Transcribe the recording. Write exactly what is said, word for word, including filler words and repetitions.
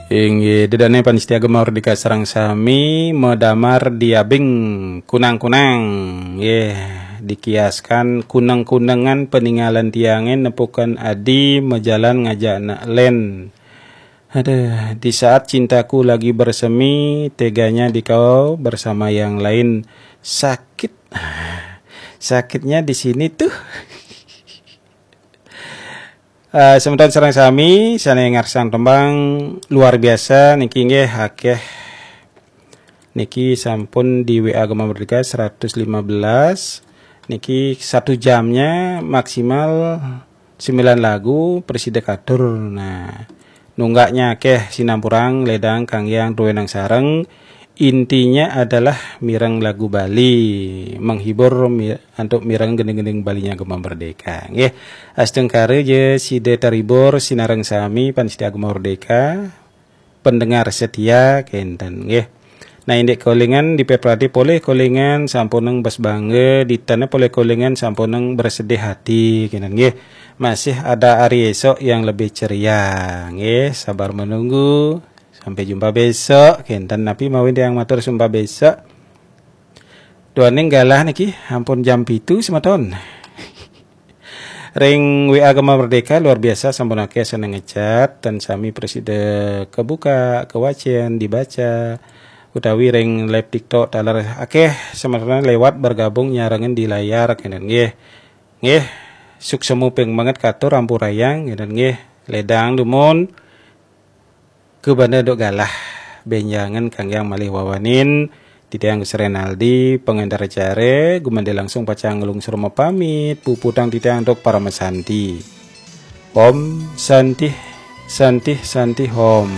Inggih, dedane panitia Gema Merdeka sareng sami medamar diabing kunang-kunang. Nggih, dikiaskan kuneng-kunengan peninggalan tiange nepukan adi majalan ngajak nak len. Aduh, di saat cintaku lagi bersemi, teganya dikau bersama yang lain. Sakit. Sakitnya di sini tuh. Uh, semeton sareng sami sane ngarsang tembang luar biasa niki nggih akeh. Niki sampun di W A Gema Merdeka seratus lima belas. Niki satu jamnya maksimal sembilan lagu, preside katur. Nah, nunggaknya akeh sinampurang ledang kangge duwenang sareng. Intinya adalah mireng lagu Bali, menghibur mi- antuk mireng gending-gending Balinya Gema Merdeka. Nggih, astungkara je sida terhibur sinareng sami panitia Gema Merdeka, pendengar setia kenten nggih. Nah, indik kolingan di Pepradi polih kolingan sampuneng bes bangga, ditane polih kolingan sampuneng bersedih hati kenten nggih. Masih ada hari esok yang lebih ceria nggih, sabar menunggu. Sampai jumpa besok. Kenten napi mawin tiang matur sumpah besok. Duaning galah niki ampun jam pitu semeton. Ring W A Gema Merdeka luar biasa sampun akeh sane ngechat dan sami presida kebuka, kewacen, dibaca utawi ring live TikTok taler akeh semeton lewat bergabung nyarengin di layar kenten nggih. Nggih, suksema ping banget katur ampurayang kenten nggih. Ledang dumun. Kubanda duk galah benjangan kangge malih wawanin titiang Gus Renaldi, pengantar acara, gumande langsung pacang nglungsur mapamit, puputang titiang duk parama santi. Om Santih, Santih, Santih Om.